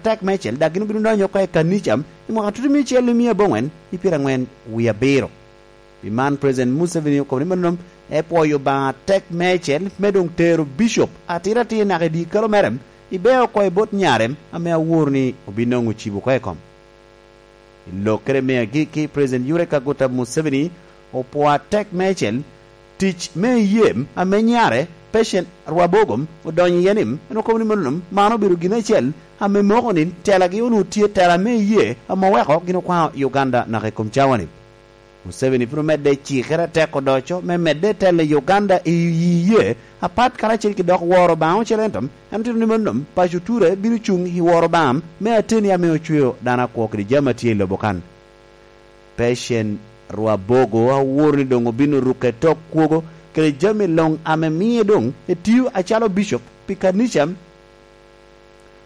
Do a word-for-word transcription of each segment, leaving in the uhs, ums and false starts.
atek meicel, dok gin obino donyo oko i kanica i mwaka tutumia acel i mia aboŋwen i pyerangwen wie abiro. Pi man, President Museveni okobo ni mano epwoyo Obaŋa atek meicel me doŋ tero Bishop atiratir naka i dye kalo mere, i beo oko i bot nyare ame aworo ni obinoŋo cibo oko i kom. I lokkere me agikki, President Yoweri Kaguta Museveni opwoo atek meicel tic me iyee ame nyare, Patient Rwabogo, odonyo iye ni, en okobo ni mano man obedo gin acel ame moko ni telagi onwoŋo tye tela me iyee ame oweko gin okwaŋo Uganda naka i kom cawa-ni. Museveni pwod omedde cikere atek odoco me medde telo i Uganda i iyee apat karacel ki dok woro Obaŋa ocele, ento en otito ni mano paco ture bino cuŋ i woro Obaŋa me ateni ame ocweo dano akwo kede jami a tye i lobo kan. Patient Rwabogo aworo ni doŋ obino ruke tok kwogo kede jami luŋ ame mie doŋ etio acalo bicop pi kanica,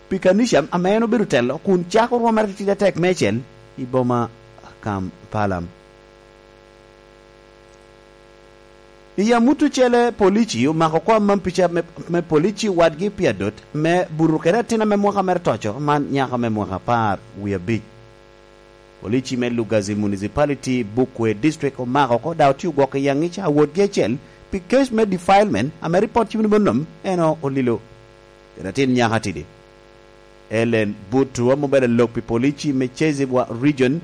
pi kanica ame en obedo telo, kun cako rwomere titidi atek meicel i boma Kampala. I amut ocele, polici omako oko amam pica me, me polici wadgi pi adot me buto kede atin ame mwaka mere toco, man nyako me mwaka apar wie abic. Polici me Lugazi Municipality, Bukwea District, omako oko, dok otye ogwoko i aŋic awotgi acel pi kec me defilement ame ripot cimo ni mano en olilo kede atin nyako atidi. Ellen Butu, ame obedo alok pi polici me Kyezi Bwa Region,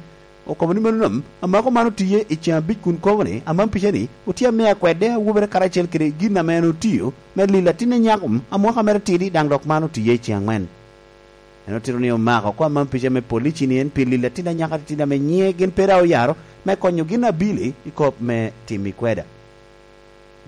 okobo ni mano amako man otiye i ceŋ abic kun kobo ni amam pica-ni otye amea kwede awobere karacel kede gin ame en otio me lilo atinne nyako a mwaka mere tidi, daŋ dok man otiye i ceŋ aŋwen. En otito ni omako oko amam pica me polici-ni en pi lilo atin anyaka atitidi ame nyiŋe gin pe daŋ oyaro, me konyo gin abili i kop me tim i kweda.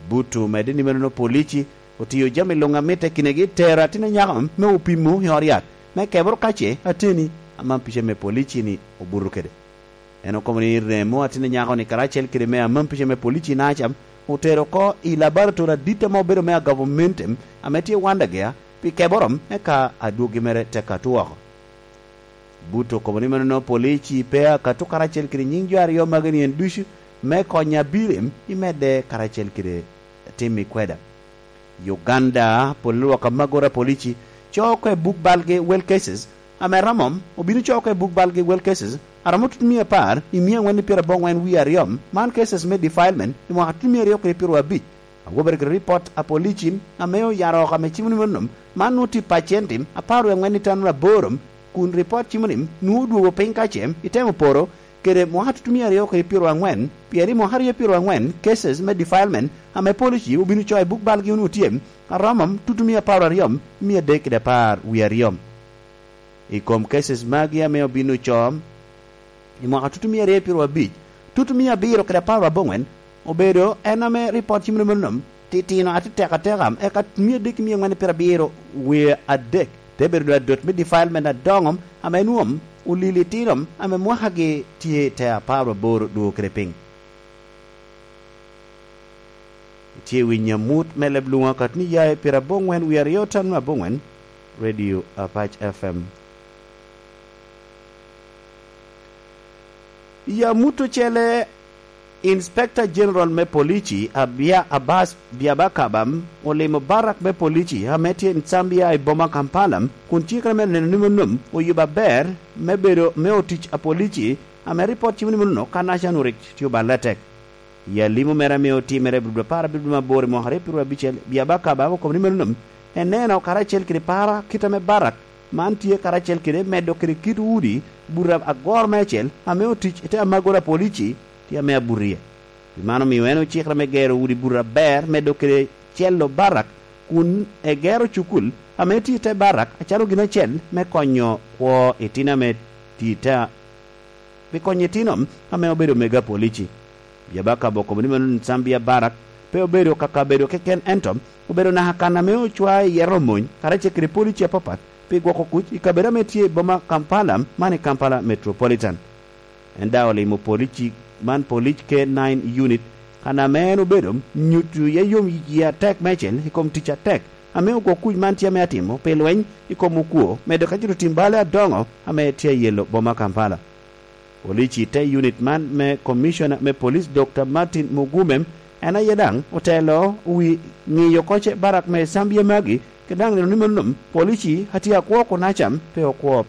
Butu omedde ni meno polici otio jami luŋ a mitte kinegi, tero atin anyaka me opimo i ot yat, me keboro ka ce ateni amam pica me polici-ni obuto kede. En okobo ni remo atin anyaka-ni karacel kede me amam pica me polici nacam otero oko i laboratori adit ame obedo me agavumenti ame tye Wandagea pi keboro, eka adwoggi mere tek atu oko. Butu okobo ni mano polici pe akato karacel kede nyiŋ jo aryo magi ni en ducu me konyo abili i medde karacel kede tim i kweda. Uganda, pol lwak amagora polici coo oko i buk balgi Well Cases, ame romo obino coo oko i buk balgi Well Cases, a romo tutumia apar i mia aŋwen i pyeraboŋwen wie aryo, man cases me defilement i mwaka tutumia aryo kede pyeraryo abic. Awobere kede ripot a polici ame oyaro oko ame cimo ni mano, man nwoŋo tye pacenti apar wie aŋwen i tano aboro, kun ripot cimo ni nwoŋo odwogo piny ka ce itemo poro kede mwaka tutumia aryo kede pyeraryo aŋwen, pien i mwaka aryo pyeraryo aŋwen cases me defilement ame polici obino coo i buk balgi onwoŋo tye aromo tutumia apar aryo mia adek kede apar wie aryo. I kom cases magi ame obino coo i mwaka tutumia aryo pyeraryo abic, tutumia abiro kede apar aboŋwen obedo en ame ripot cimo ni mano titino atetek ateka, eka mia adek mia aŋwen pyerabiro wie adek te bedo adot me defilement adoŋo ame nwoŋo olili itino ame mwakagi tye i te apar aboro dwogo kede piny. Itye i winyo amut me leb luŋ akato ni ya i pyeraboŋwen wie aryo tano aboŋwen, Radio Apac F M. I amut ocele, Inspector General me Polici, Abia Abbas Byabakaba, olimo barak me polici ame tye i Nsambia i boma Kampala, kun cikere me neno ni mano oyubo aber me bedo me otic a polici, ame ripot cimo ni mano kan acan orik tye oballe atek. I alimo mere ame otimere i Abril apar abic me aboro i mwaka aryo pyeraryo abicel, Byabakaba okobo ni mano eneno karacel kede para kit ame barak man tye karacel kede medo kede kit udi buto agoro meicel ame otic i te amagoro a polici tye ame abuto iye. Pi man omio en ocikere me gero udi buto aber, medo kede celo barak, kun egero cukul ame tye i te barak acalo gin acel me konyo kwo itino ame tye i te, pi konyo itino ame obedo mega polici. Byabakaba okobo ni mano Nsambia Barak pe obedo ka kabedo keken, ento obedo naka kan ame ocwa iye romony karacel kede polici apapat pi gwoko kuc i kabedo ame tye i boma Kampala, man i Kampala Metropolitan. En daŋ olimo polici man, Police K nine Unit, kan ame en obedo nyuto iye yom yie atek meicel i kom tic atek ame ogwok kuc man tye ame atimo pi lweny i kom okwo, medo ka cito tim balle adoŋo ame tye ayelo boma Kampala. Polici te unit man me Commissioner me Police, Doctor Martin Mugume, en aye daŋ otelo wi ŋiyo koce barak me Zambia magi, kede daŋ neno ni mano polici a tye akwo kun acam pe okwo